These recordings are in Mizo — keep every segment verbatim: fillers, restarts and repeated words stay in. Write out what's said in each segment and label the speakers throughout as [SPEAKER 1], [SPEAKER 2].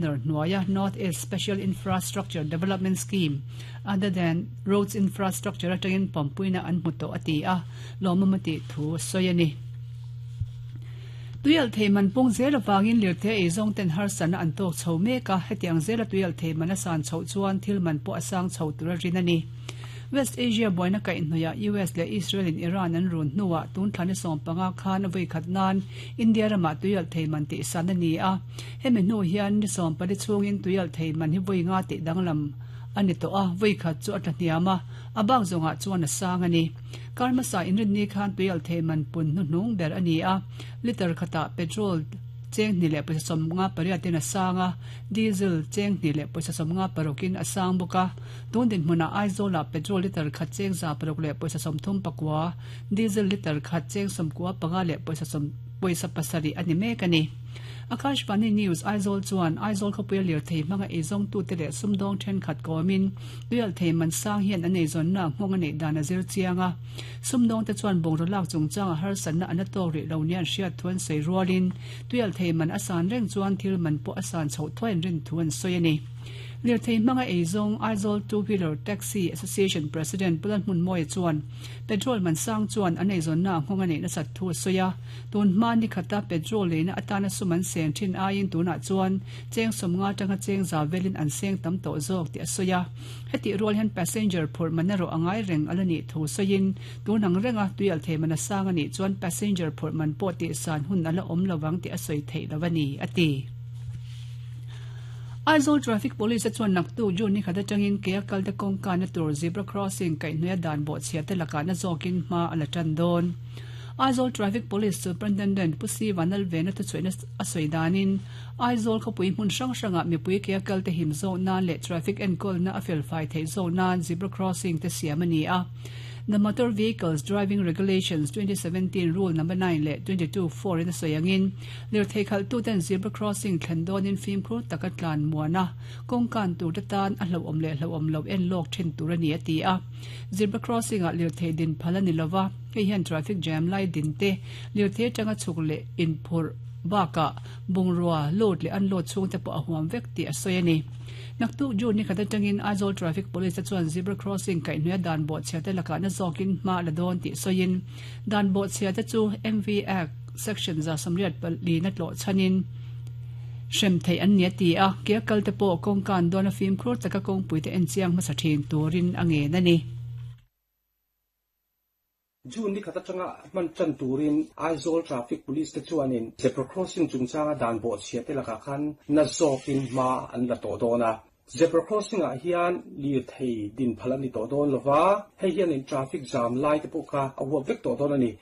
[SPEAKER 1] Governor hnuaia North East Special Infrastructure Development Scheme other than roads infrastructure atangin pampuina an hmu tawh a ti a, lawmawm a tih thu a sawi a ni. Tuialh thei man pung zel avangin lirthei ei zawng ten harsatna an tawk chho mek a, hetiang zela tuialh thei man a san chhoh chuan thil man pawh a sang chho tur a rin a ni. West Asia buaina kaihhnawihah U S leh Israel in Iran an run hnuah tun thla ni sawm panga khan a vawi khat nan India ramah tuialh thei man tih san a ni a, hemi hnu hian ni sawm pali chhungin tuialh thei man hi vawi nga tih danglam a ni tawh a, vawi khat chu a tla hniam a, a bak zawngah chuan a sang a ni. Kar hmasa inrinni khan tuialh thei man pun hnuhnung ber a ni a, litre khatah petrol cheng hnih leh pawisa sawmnga pariatin a sang a, diesel cheng hnih leh pawisa sawmnga parukin a sang bawk a. Tun dinhmunah Aizawlah petrol litre khat cheng za paruk leh pawisa sawmthum pakua, diesel litre khat cheng sawmkua panga leh pawisa sawm pawisa pasarih a ni mek a ni. Akashvani News Aizawl chuan Aizawl khawpuia lirthei hmanga eizawngtute leh sumdawng thenkhat kawmin tuialhthei man sang hian an eizawnna nghawng a neih dan a zir chiang a. Sumdawngte chuan bungraw lak chungchanga harsatna an la tawk rih lo nia an hriat thu an sawi rualin tuialhthei man a san reng chuan thil man pawh a san chhoh thuai an rin thu an sawi a ni. Lirthei hmanga eizawng Aizawl Two Wheeler Taxi Association President Pu Lalhmunmawia chuan petrol man sang chuan an eizawnna nghawng a neih nasat thu a sawi a. Tun hma ni khata petrol leina atana sum an seng thin aiin tunah chuan cheng sawmnga atanga cheng za velin an seng tam tawh zawk tih a sawi a. Hetih rual hian passenger phurh man erawh a ngai reng a la nih thu sawiin tun ang renga tuialhthei man a sang a nih chuan passenger phurh man pawh tihsan hun a la awm lovang tih a sawi theih lo a ni, a ti. Aizawl Traffic Police te chuan naktuk June ni khat atangin ke a kalte kawngkana tur zebra crossing kaihhnuaia dan bawhchhia te lakah na zawkin hma a la tan dawn. Aizawl Traffic Police Superintendent Pu Si Vanlalvena thuchhuihna a sawi danin Aizawl khawpui hmun hrang hrangah mipui ke a kalte him zawk nan leh traffic enkawlna a felfai theih zawk nan zebra crossing te siam a ni a. The Motor Vehicles Driving Regulations twenty seventeen Rule Number nine leh twenty two four in a sawi angin lirthei khalhtuten zebra crossing thlen dawnin fimkhur taka tlan muan a, kawngkan turte tan a hlauhawm leh hlauhawm loh en lawk thin tur a ni a ti a. Zebra crossing ah lirthei din phal a ni lova, hei hian traffic jam lai din te, lirthei atanga chhuk leh inphurh bakah bungrua load leh unload chhungte pawh a huam vek tih a sawi a ni. Naktuk June ni khat atangin Aizawl Traffic Police te chuan zebra crossing kaihhnuaia dan bawhchhia te lakah na zawkin hma a la dawn tih sawiin dan bawhchhia te chu M V Act Section za sawmriat pali na tlawh chhanin hrem theih an ni a ti a, ke a kal te pawh kawngkan dawn a fimkhur taka kawngpui te enchiang hmasa thin turin a ngen a ni.
[SPEAKER 2] June ni khat atanga hman tan turin Aizawl Traffic Police te chuanin zebra crossing chungchanga dan bawhchhia te lakah khan na zawkin hma an la tawh dawn a. Zebra crossing ah hian lirthei din phal a ni tawh dawn lova, hei hianin traffic jam lai te pawh kha a huap vek tawh dawn a ni.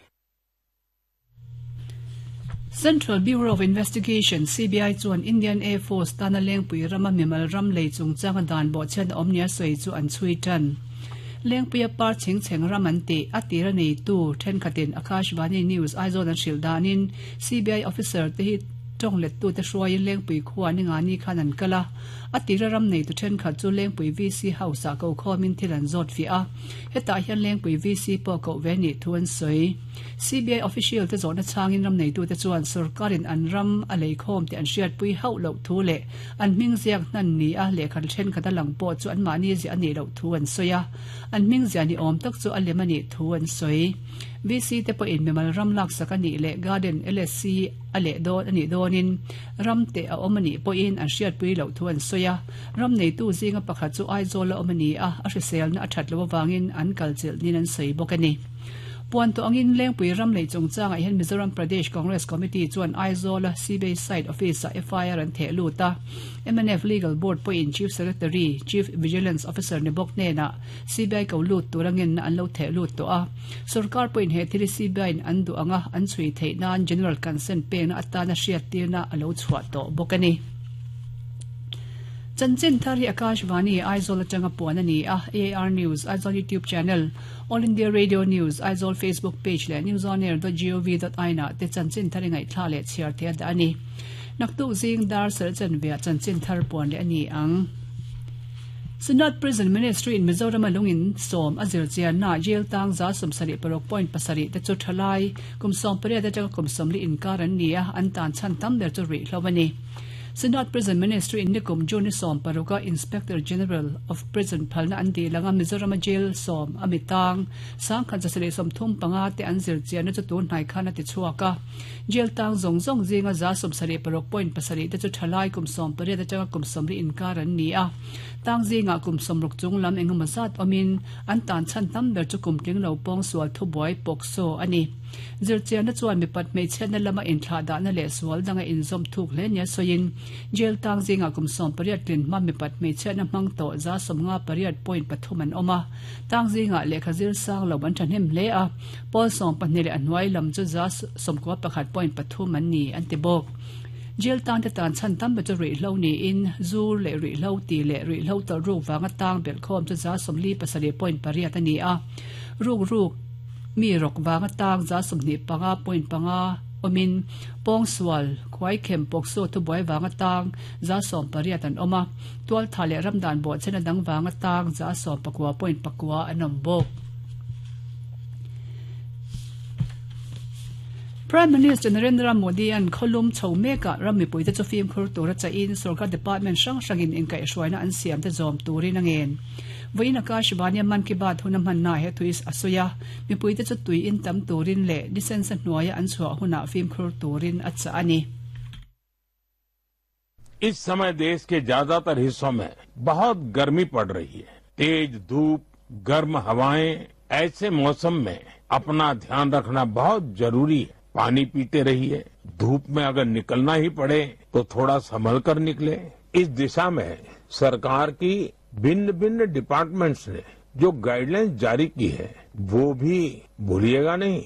[SPEAKER 1] Central Bureau of Investigation, C B I, chuan Indian Air Force tana Lengpui rama mimal ram lei chungchanga dan bawhchhiat a awm nia sawi chu an chhui tan. Lengpuia par chheng chheng ram an tih a tira neitu thenkhatin Akashvani News Aizawl an hrilh danin C B I officer te hi tawng lettute hruaiin Lengpui khua ni nga ni khan an kal a. A tira ram neitu thenkhat chu Lengpui V C House ah ko khawmin thil an zawt fiah a. Hetah hian Lengpui V C pawh koh ve nih thu an sawi. C B I official te zawhna chhangin ram neitute chuan sorkarin an ram a lei khawm tih an hriatpui hauh loh thu leh an hming ziak hnan ni a lehkha thenkhat a lang pawh chu anmahni ziah a nih loh thu an sawi a, an hming ziah ni awm tak chu a lem a nih thu an sawi. V C te pawhin mimal ram laksak a nih leh Garden L S C a leh dawn a nih dawnin ram te a awm a nih pawhin an hriatpui loh thu an sawi a. Ram neitu zinga pakhat chu Aizawl a awm a ni a, a hriselna a that loh avangin an kalchilh niin an sawi bawk a ni. Puan tawh angin Lengpui ram lei chungchangah hian Mizoram Pradesh Congress Committee chuan Aizawla C B I site office-ah F I R an theh lut a. M N F Legal Board pawhin Chief Secretary, Chief Vigilance Officer ni bawk hnenah C B I ko lut tur angenna an lo theh lut tawh a. Sorkar pawhin he thil hi C B I-in an duh anga an chhui theih nan General Consent pekna atana hriattirna a lo chhuah tawh bawk a ni. Chanchin thar hi Akashvani Aizawl atanga puan a ni a, A I R News Aizawl YouTube channel, All India Radio News Aizawl Facebook page leh newsonair dot gov dot in ah te chanchin thar i ngaihthla leh chhiar thei a dah a ni. Naktuk zing dar serh chanveah chanchin thar puan leh a ni ang. Synod Prison Ministry in Mizoram a lungin sawm a zir chianna jail tang za sawmsarih paruk point pasarih te chu thalai kum sawm pariat atanga kum sawmli inkar an ni a, an tan chhan tam ber chu rih hlo a ni. Senate Prison Ministry in nikum June som paruka Inspector General of Prison phalna an di langa Mizoram jail som amitang sangkhan jasele som thum panga te an zir chian chu tun hnai khana ti chuaka jail tang zong zong zinga za som sari paruk point pasari te chu thalai kum som pare ta changa kum som ri inkar an ni a tang zinga kum som ruk chung lam engemaw zat omin an tan chan tam ber chu kum tling lo pong sual thu boy pokso ani zir chian na chuan mi pat mei chen na lama in thla da na le sual danga in zom thuk hle nia soin jail tang zinga kum som pariat tin ma mi pat mei chen na mang to za som nga pariat point pathum an oma tang zinga le khazir sang lo ban thanem hle a pol som pahnih le anwai lam chu za som ko pakhat point pathum an ni an ti bok jail tang te tan chan tam ba chu ri lo ni in zur le ri lo ti le ri lo ta ru wanga tang bel khom chu za som li pasari point pariat ani a ruk ruk mi rok wanga tang za som ni panga point panga omin pong sual khwai khem pok so thu boy wanga tang za som pariat an oma tual thale ramdan bo chena dang wanga tang za som pakwa point pakwa anom bok. Prime Minister Narendra Modi an kholum chhomeka rammi puite chu film khur tura cha in sarkar department sang sangin in kai hruaina an siam te zom turin angen voina ka shibania man ki baat hunam han na he thuis asuya mi puite chu tui in tam turin le distance hnuaya an chhuah huna film khur turin acha ani.
[SPEAKER 3] इस समय देश के ज्यादातर हिस्सों में बहुत गर्मी पड़ रही है। तेज धूप, गर्म हवाएं, ऐसे मौसम में अपना ध्यान रखना बहुत जरूरी है। पानी पीते रहिए, धूप में अगर निकलना ही पड़े तो थोड़ा संभल कर निकले। इस दिशा में सरकार की भिन्न भिन्न डिपार्टमेंट्स ने जो गाइडलाइंस जारी की है वो भी भूलिएगा नहीं।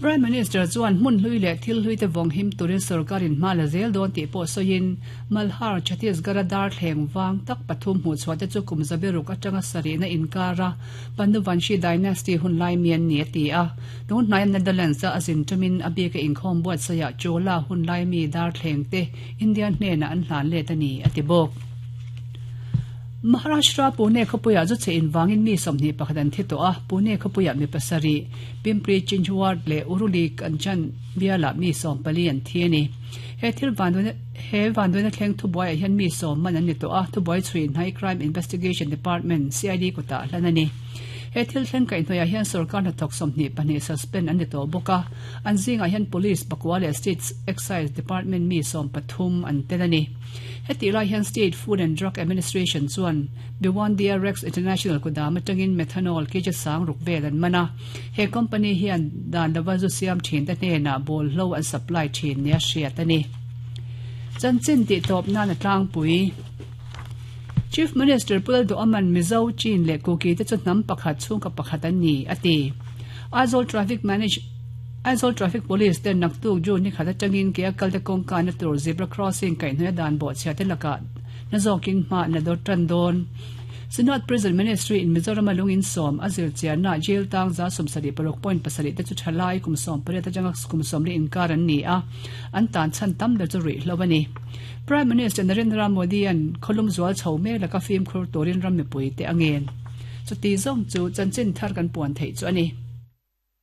[SPEAKER 1] Prime Minister chuan hmun hlui leh thil hlui te vawng him turin sarkarin hma la zel dawn tih pawh sawiin Malhar Chhattisgarh dar thleng wang tak pathum hmuh chhuah te chu kum zaberuk atanga sarihna inkara Panduvanshi dynasty hun lai mian ni a ti a tun hnai Netherlands a azin tumin a bika inkhawm buat saia Chola hun lai mi dar thleng te Indian hnena an hlan let ani a ti bawk. Maharashtra Pune khopuya chu che in wangin mi somni pakhadan thi to a Pune khopuya mi pasari Pimpri Chinchwad le Uruli Kanchan biala mi som pali an thi ani he thil vanduan he vanduan thleng thu boy hian mi som man an ni to a thu boy chhuin high crime investigation department C I D kota hlan ani he thil thleng kai hnoya hian sarkar na thok somni pahnih suspend an ni to boka an zinga hian police pakwa le state excise department mi som pathum an tel ani heti lai hian State Food and Drug Administration chuan Bhiwandi Rex International kudam atangin methanol ke sang ruk vel an mana he company hian dan lawa zu siam thin ta hnena bol hlo an supply thin nia hriat ani chanchin ti top na na tlangpui Chief Minister Pulal Do Aman Mizo Chin le Kuki te chu hnam pakhat chung ka pakhat an ni ati Aizawl Traffic Manage Aizawl Traffic Police ten naktuk ju ni khata tangin ke akal te kongka na tur zebra crossing kai hnuai dan bo chhia te laka na zokin ma na do tran don Synod Prison Ministry in Mizoram alungin som azir chian na jail tang za som sari paruk point pasari te chu thalai kum som pare ta jangak kum som ri inkar an ni a an tan chan tam le chu ri hlowani Prime Minister Narendra Modi an kholum zual chhome laka film khur torin ram mi pui te angen chu ti zong chu chanchin thar kan puan thei chu ani.